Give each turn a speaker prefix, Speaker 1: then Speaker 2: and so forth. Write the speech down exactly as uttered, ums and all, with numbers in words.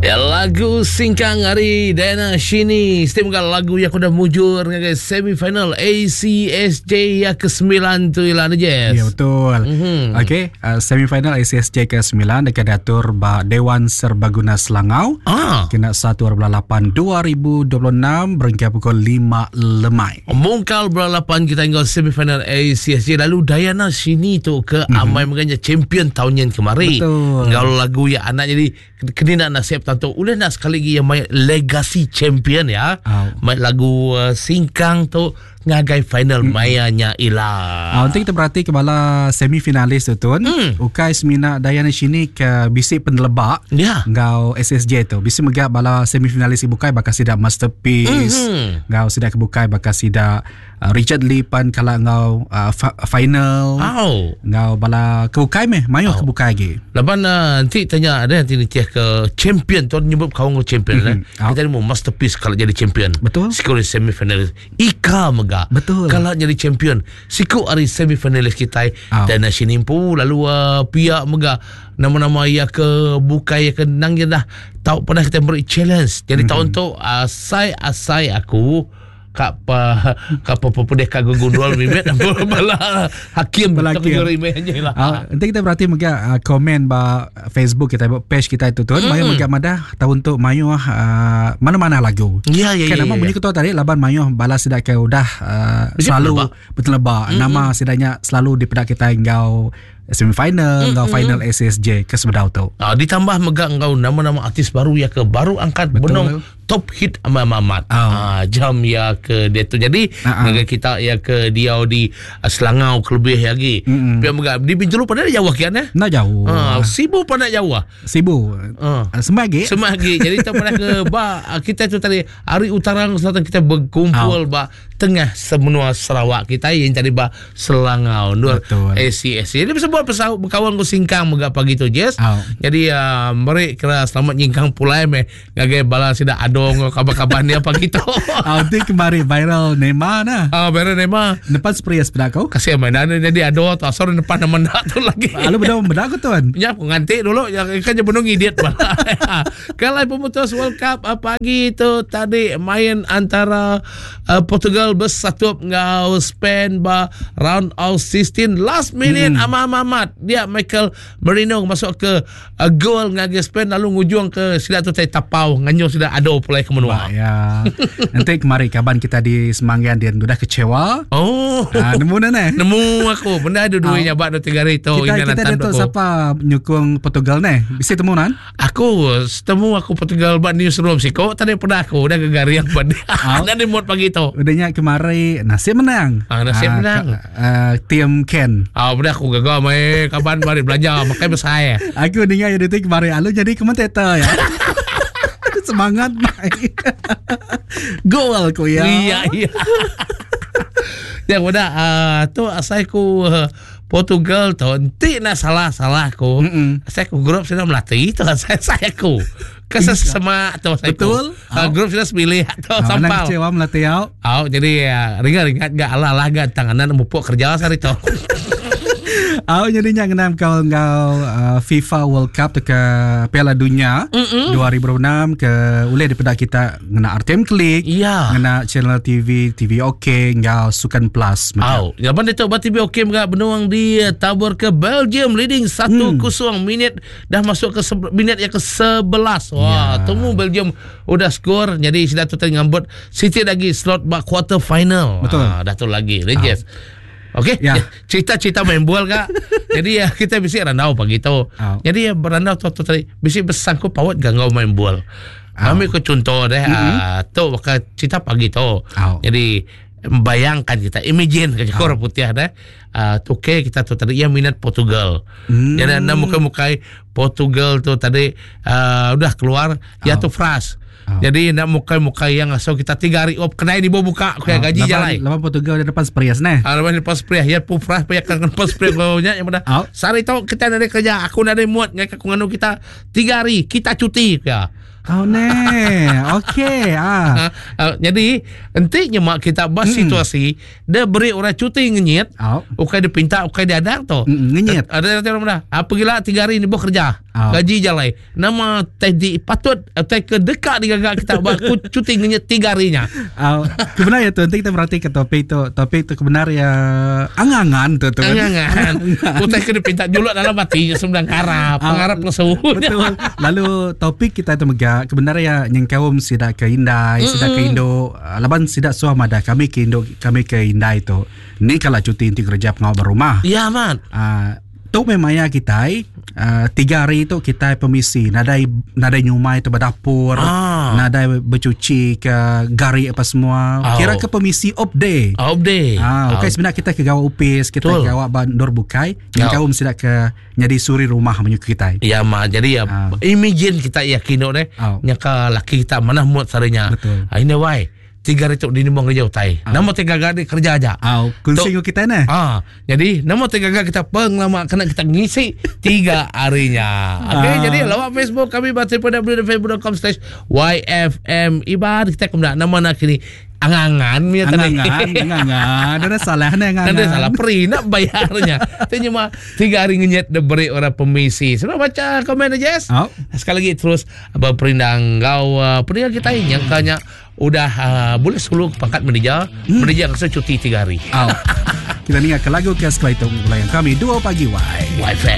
Speaker 1: Ya, lagu Singkang hari Dayana Shini. Setiap kali lagu yang udah mujur ngagai semifinal A C S J yang kesembilan tu ialah ni, Jess.
Speaker 2: Ya, betul.
Speaker 1: Mm-hmm.
Speaker 2: Okey, uh, semifinal A C S J kesembilan dekat diatur ba Dewan Serbaguna Selangau.
Speaker 1: Ah.
Speaker 2: Kena satu bulan lapan dua ribu dua puluh enam berhingga pukul lima lemai.
Speaker 1: Mungkal bulan lapan kita tengok semifinal A C S J, lalu Dayana Shini tu ke mm-hmm. amai menganya champion tahun yang kemarin.
Speaker 2: Betul.
Speaker 1: Kalau lagu yang anak jadi kena nak nasib tentu udah nak sekali lagi yang main legacy champion ya.
Speaker 2: Oh.
Speaker 1: Main lagu uh, Singkang tu ngagai final mm. mayanya ila.
Speaker 2: Ah, untuk kita berarti kebala semifinalis tu tuan.
Speaker 1: Mm.
Speaker 2: Ukai semina Dayana Shini ke bisi penelebak
Speaker 1: Ya.
Speaker 2: ngau S S J tu. Bisi megak bala semifinalis ibukai bakal sidak Masterpiece.
Speaker 1: Mm-hmm.
Speaker 2: Ngau sidak kebukai bakal sidak uh, Richard Lee pan kala ngau uh, fa- final.
Speaker 1: Oh.
Speaker 2: Ngau bala kebukai meh, mayuh oh. kebukai lagi.
Speaker 1: Laban uh, nanti tanya ada nanti ni tiah ke champion tuan nyebut kau ngau champion
Speaker 2: mm-hmm.
Speaker 1: eh. Kita ni mau Masterpiece kalau jadi champion.
Speaker 2: Betul.
Speaker 1: Siku semifinalis. Ika megak.
Speaker 2: Betul.
Speaker 1: Kalau jadi champion siku hari semifinalis kita
Speaker 2: oh.
Speaker 1: Dan Sinimpu lalu uh, pihak megah nama-nama ia ke bukai ia ke nang je dah tahu pernah kita beri challenge. Jadi
Speaker 2: mm-hmm.
Speaker 1: tahun tu asai asai aku kak pa kak pa pedih kak gundul mimet bala hakim
Speaker 2: Bala hakim.
Speaker 1: tak lah.
Speaker 2: Uh, nanti kita berarti megah uh, komen ba Facebook kita ba page kita itu tuan
Speaker 1: Mm.
Speaker 2: mayu megah madah tahun tu mayu uh, mana-mana lagu.
Speaker 1: Ya ya
Speaker 2: Kan
Speaker 1: ya.
Speaker 2: nama
Speaker 1: ya,
Speaker 2: bunyi
Speaker 1: ya.
Speaker 2: ketua tadi laban mayu bala sidak ke udah uh,
Speaker 1: Mesti
Speaker 2: selalu
Speaker 1: bertelebak.
Speaker 2: bertelebak. Nama sidaknya selalu dipedak kita ngau semifinal, ngau final A C S J ke sebedau tu.
Speaker 1: Ah, ditambah megah ngau nama-nama artis baru ya ke baru angkat
Speaker 2: Betul.
Speaker 1: benong top hit amat-amat.
Speaker 2: Oh.
Speaker 1: Ah, jam ya ke dia tu. Jadi
Speaker 2: Ah, ah.
Speaker 1: megah kita ya ke dia di uh, Selangau kelebih lagi.
Speaker 2: Mm-mm.
Speaker 1: Biar megah di Bintulu pada jauh kian eh.
Speaker 2: Nak jauh.
Speaker 1: Ah, Sibu pada jauh.
Speaker 2: Sibu.
Speaker 1: Ah.
Speaker 2: Uh, Semagi.
Speaker 1: Semagi. Jadi kita pernah ke ba kita tu tadi hari utara selatan kita berkumpul
Speaker 2: Oh.
Speaker 1: ba tengah semenua Sarawak kita yang tadi ba Selangau Nur
Speaker 2: Betul.
Speaker 1: A C S. Jadi bisa buat pesawat berkawan ku Singkang megah pagi tu Jess.
Speaker 2: Oh.
Speaker 1: Jadi uh, mereka kira selamat nyingkang pulai me ngagai bala sida adong kabar-kabar ni apa gitu.
Speaker 2: Ah, nanti kemarin viral Neymar nah.
Speaker 1: Ah, viral Neymar.
Speaker 2: Depan spray sepeda kau.
Speaker 1: Kasih mainan jadi ado atau asal depan nama nak tu lagi.
Speaker 2: Lalu benda benda aku tuan.
Speaker 1: Ya, aku ngantik dulu. Ya, kan je benung idiot. Kalau pemutus World Cup pagi tu tadi main antara uh, Portugal bersatu ngau Spain ba round of sixteen last minute
Speaker 2: Hmm.
Speaker 1: hmm. Amat dia Michael Merino masuk ke uh, gol ngagi Spain lalu ngujung ke sila tu tai tapau nganyo sudah ado pulai ke menua.
Speaker 2: Bah, ya. Nanti kemarin kaban kita di Semanggian dia udah kecewa.
Speaker 1: Oh.
Speaker 2: Ah, nemu nene.
Speaker 1: Nemu aku. Benda ada duitnya bak dua tiga hari tu.
Speaker 2: Kita
Speaker 1: Ini
Speaker 2: kita
Speaker 1: nantan
Speaker 2: ada tu
Speaker 1: aku.
Speaker 2: siapa nyukung Portugal ne? Bisa temu nan?
Speaker 1: Aku temu aku Portugal bak newsroom siko tadi pernah aku udah gegariang pada.
Speaker 2: Ah.
Speaker 1: Ada mood pagi tu.
Speaker 2: Udahnya kemarin nasib menang.
Speaker 1: Ah, nasib menang.
Speaker 2: Ka, uh, tim Ken.
Speaker 1: Ah, udah aku gagal mai kaban bari belanja makai besar.
Speaker 2: Aku dengar yang detik kemarin alu jadi komentator ya. Semangat mai. Gol ku ya.
Speaker 1: Iya iya. Ya udah uh, tu asal ku uh, Portugal tu nanti nak salah salah ku.
Speaker 2: Mm-mm.
Speaker 1: Saya ku grup sudah melatih itu saya saya ku. Kesesema tu saya ku.
Speaker 2: Betul.
Speaker 1: Uh, grup sudah semilih tu
Speaker 2: Ah, menang
Speaker 1: sampau.
Speaker 2: kecewa melatih au.
Speaker 1: Oh, jadi ya, ringan-ringan gak ala lah gak tanganan mupuk kerja sehari tu.
Speaker 2: Au jadinya ngenam kau ngau uh, FIFA World Cup ke Piala Dunia
Speaker 1: Mm-mm.
Speaker 2: dua ribu enam ke ulih daripada kita ngena R T M Klik,
Speaker 1: Iya.
Speaker 2: ngena channel T V T V OK ngau Sukan Plus.
Speaker 1: Au, jawapan dia tu T V OK mga benuang di eh, tabur ke Belgium leading satu kosong minit dah masuk ke se- minit yang ke sebelas. Wah,
Speaker 2: Ya.
Speaker 1: temu Belgium udah skor jadi sudah tu tadi ngambut City lagi slot bak quarter final.
Speaker 2: Betul.
Speaker 1: Ah, dah tu lagi. Rangers. Okey,
Speaker 2: Ya.
Speaker 1: cerita-cerita main bola kak. Jadi ya kita bisa randau pagi tu.
Speaker 2: Au.
Speaker 1: Jadi ya berandau tu tu tadi bisa bersangkut paut gangau main bola. Kami ke contoh deh,
Speaker 2: Mm-hmm.
Speaker 1: ah, tu bakal cerita pagi tu.
Speaker 2: Au.
Speaker 1: Jadi bayangkan kita imagine ke orang putih dah uh, tuke kita tu tadi yang minat Portugal.
Speaker 2: Hmm.
Speaker 1: Jadi anda muka-mukai Portugal tu tadi uh, udah keluar ya tu fras.
Speaker 2: Oh.
Speaker 1: Jadi nak muka-muka yang asal kita tiga hari op kena ini buka kayak gaji jalai.
Speaker 2: Lawan Portugal di depan Sprias neh.
Speaker 1: Ah, lepas lepas priah ya pu fras paya kan pas priah kau nya yang pada.
Speaker 2: Au.
Speaker 1: Sari tau kita ada kerja aku ada muat ngai aku nganu kita tiga hari kita cuti ya.
Speaker 2: Oh ne. Okey. Ah.
Speaker 1: Ha, uh, jadi enti nyemak kita bah hmm. situasi dia beri orang cuti ngenyit.
Speaker 2: Oh.
Speaker 1: Ukai dia pinta, ukai dia adang tu.
Speaker 2: Mm, ngenyit.
Speaker 1: Ada ada orang dah. Apa gila tiga hari ni boh kerja.
Speaker 2: Oh.
Speaker 1: Gaji jalai. Nama teh di patut teh ke dekat digagak kita buat cuti ngenyit tiga harinya.
Speaker 2: Oh. Kebenar ya tu nanti kita berarti ke topik tu. Topik tu kebenar ya angangan tu tu.
Speaker 1: Angangan. Utai ke dipinta juluk dalam hati sembilan harap, pengarap lesu.
Speaker 2: Betul. Lalu topik kita tu mega kebenar ya nyengkaum sidak ke indai, sidak ke indo, laban sidak suah madah kami ke indo, kami ke indai tu. Ni kalau cuti inti kerja pengawal berumah.
Speaker 1: Ya man.
Speaker 2: Ah, tu memang ya kita uh, tiga hari tu kita permisi, nadai nadai nyumai tu berdapur,
Speaker 1: Ah.
Speaker 2: nadai bercuci ke gari apa semua.
Speaker 1: Oh.
Speaker 2: Kira ke permisi off day.
Speaker 1: Off day.
Speaker 2: Ah, okey sebenarnya kita ke gawak upis, kita
Speaker 1: Betul.
Speaker 2: ke gawak bandur bukai, yang
Speaker 1: Ya.
Speaker 2: kaum sidak ke jadi suri rumah menyukai kita.
Speaker 1: Ya ma, jadi ya
Speaker 2: Ah.
Speaker 1: imagine kita yakin deh.
Speaker 2: Oh.
Speaker 1: Nyaka laki kita mana muat sarenya.
Speaker 2: Betul.
Speaker 1: Ah, ini why tiga hari tu di nimbang kerja utai.
Speaker 2: Ah.
Speaker 1: Nama tiga hari kerja aja.
Speaker 2: Ah, kunci
Speaker 1: Tu-
Speaker 2: kita ne.
Speaker 1: Ah, jadi nama tiga hari kita pengelama kena kita ngisi tiga harinya. Okey,
Speaker 2: Ah.
Speaker 1: jadi lawak Facebook kami baca pada w w w titik facebook titik com slash y f m ibad kita kemudian nama nak kini angangan punya tadi.
Speaker 2: Angangan, angangan. Ada salah ne angangan.
Speaker 1: Nanti salah peri nak bayarnya. Itu cuma tiga hari ngenyet dia beri orang permisi. Sudah baca komen aja, Jess?
Speaker 2: Oh.
Speaker 1: Sekali lagi terus berperindang kau uh, pendengar kita ini yang kanya udah uh, boleh suluk pangkat menija, hmm. menija rasa cuti tiga hari.
Speaker 2: Oh. Kita ni ke lagu ke sekali itu yang kami dua pagi wai.
Speaker 1: Wifi.